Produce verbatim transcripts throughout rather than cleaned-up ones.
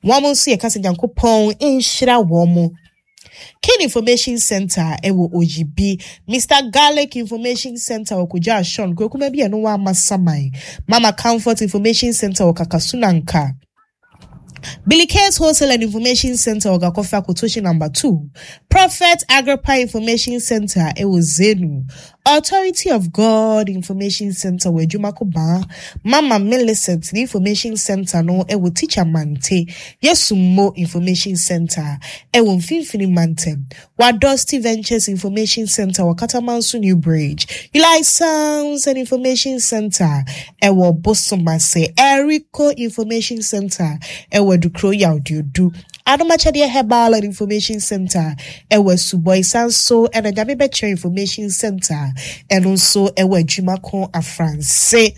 Wɔn nso yɛka sɛ Nyankopɔn nhyira wɔn mo. King Information Center ɛwɔ Oyibi, Mister Garlic Information Center wɔ Kogya Ashon, Kurokuma bi ɛno wɔ Amasaman, Mama Comfort Information Center wɔ Kakasunanka, Billy Case Wholesale and Information Center wɔ Gakofa Kotoshi number two, Prophet Agrippa Information Center ɛwɔ Zenu, Authority of God Information Center wɔ Adwumakoba, Mama Millicent ne Information Center no ɛwɔ Teacher Mante, Yesumo Information Center ɛwɔ Mfimfini Mantem, Wadosti Ventures Information Center wɔ Katamanso New Bridge, Eli Sounds and Information Center ɛwɔ Bosomase, Erico Information Center ɛwɔ Adukuro Yawdeodu, Adomakyɛdeɛ Herbal and Information Center ɛwɔ Suboi Sanso, ɛna Nyame Bɛkyerɛ Information Center ɛno nso ɛwɔ Adwumako Afranse.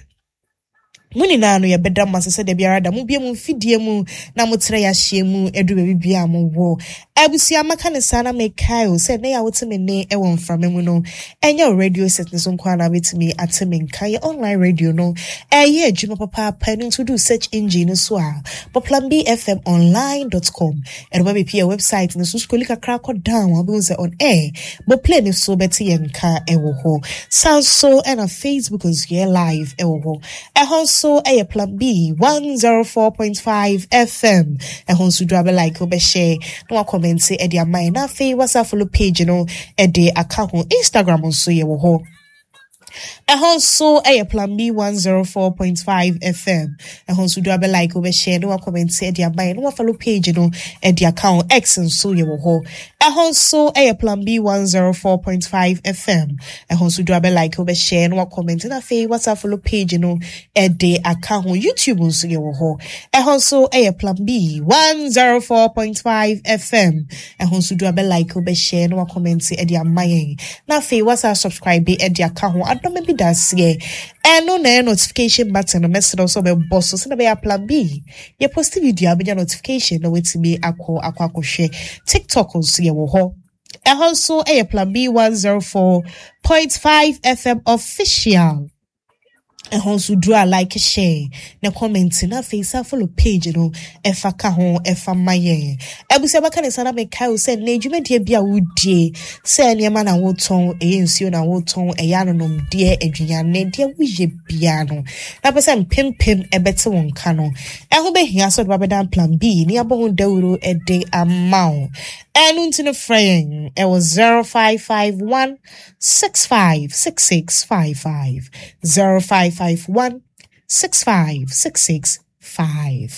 Mo nyinaa no yɛbɛda mo ase sɛ da biara da mobie mu mfidie mu na motrɛ yɛ ahyia mu aduru baabi bia a mowɔ. Abusua, maka ne saa na mekae o sɛ nnɛ yɛ a wote me nne ɛwɔ mframa mu no, ɛnyɛ wo radio set ne so nko a na wobɛtumi ate me nka. Yɛ online radio no ɛyɛ adwuma papaapa. Ɛno nti woduu search engine no so a, bɔ plan B F M online dot com, ɛno ba bɛpie yɛ website no so. Scrolli kakra kɔ down a, wobɛhu sɛ on air, bɔ play no so, bɛte yɛn nka ɛwɔ hɔ. San so ɛna Facebook nso yɛ live ɛwɔ hɔ. Ɛhɔ nso ɛyɛ Plan B one zero four point five F M. Ɛhɔ nso dura bɛ like, wobɛhyɛ na wakɔmmɛnte ɛde ama yɛn. Na afei WhatsApp follow page no ɛde aka ho. Instagram nso yɛwɔ hɔ. Ɛhɔ nso ɛyɛ Plan B one zero four point five F M. Ɛhɔ nso dura bɛ like, wobɛhyɛ na wakɔmmɛnte ɛde ama yɛn na wafollow page no ɛde aka ho. X nso yɛwɔ hɔ. Ɛhɔ nso ɛyɛ Plan B one zero four point five F M. Ɛhɔ nso dura bɛ like, wobɛhyɛ na wakɔmmɛnte, na afei WhatsApp follow page no ɛde aka ho. YouTube nso yɛwɔ hɔ. Ɛhɔ nso ɛyɛ Plan B one zero four point five F M. Ɛhɔ nso dura bɛ like, wobɛhyɛ na wakɔmmɛnte ɛde ama yɛn na afei WhatsApp subscribe ɛde aka ho. Adɔm bi da aseɛ, ɛno na ɛyɛ notification button no. Mɛsrɛ wo sɛ wobɛbɔ so sɛdeɛ ɛbɛyɛ a Plan B yɛ post video a, wobɛnya notification na woatumi akɔ akɔ akɔhwɛ. TikTok nso yɛwɔ hɔ. Ɛhɔ nso ɛyɛ Plan B one zero four point five F M official. Ɛhɔ nso duru a, like, share na comment, na afei sa follow page no ɛfa ka ho ɛfa ma yɛn. Abusua, bɛka ne sa na mekae wo sɛ nnɛ dwumadie bi a wodie sɛ nneɛma na wotɔn, ɛyɛ nsuo na wotɔn, ɛyɛ anonomdeɛ, aduane deɛ woyɛ biara no, na pɛ sɛ mpempem ɛbɛte wo nka no, ɛho bɛhia sɛ wode babɛdan Plan B ne abɔ ho dawuro ɛde ama wo. Ɛno nti no, frɛ yɛn ɛwɔ zero five five one six five six six five five, zero five five one six five six six five.